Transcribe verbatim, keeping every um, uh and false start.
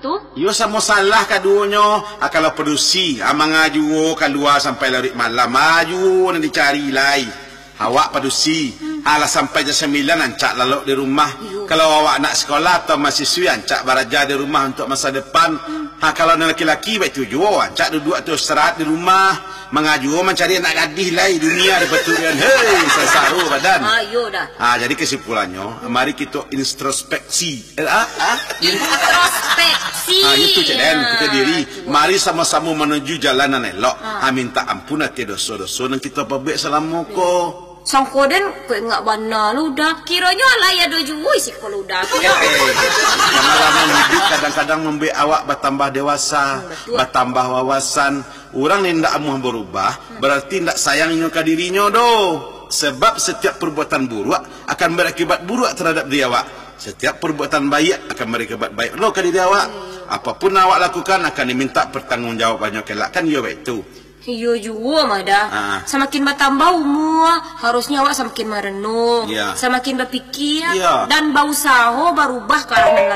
Tu? Iyo, samo salah kaduonyo. Ah, kalau padusi, ah, mangajuo kalua sampai laruik malam, ah, juo nan dicari lai. Awak padusi, ah, lah sampai jam sambilan, rancak lalok di rumah. Iyo. Kalau awak anak sikolah atau mahasiswi, rancak baraja di rumah untuak masa depan. Hmm. Ha, kalau nan laki-laki, baitu juo, rancak duduak atau istirahat di rumah, mangajuo mancari anak gadih lai, dunia dipaturuikan. Hei, sansaro badan. Ah, iyo dah. Ah, jadi kesimpulannyo, mari kito introspeksi. Eh, ah, ah? Introspeksi. Ah, itu, Cik Den, kito diri. Mari samo-samo manuju jalan nan elok. Ah. Ah, minta ampun ateh doso-doso nan kito pabuek salamo ko. Sangko den, kok ingat bana lo Uda. Kironyo alai ado juo isi kepala Uda ko. Eh, pangalaman hidup kadang-kadang mambuek awak batambah dewasa, hmm, batua, batambah wawasan. Urang nan indak amuah barubah, hmm, bararti indak sayang inyo ka dirinyo doh. Sebab satiap perbuatan buruak akan barakibat buruak taradap diri awak. Satiap perbuatan baiak akan barakibat baiak lo ka diri awak. Hmm. Apapun awak lakukan akan diminta pertanggungjawabannyo kelak, kan iyo baitu. Iyo juo mah dah. Ah. Samakin batambah umua, harusnyo awak samakin marenung, ya, samakin bapikia, ya, dan bausaho barubah ka arah nan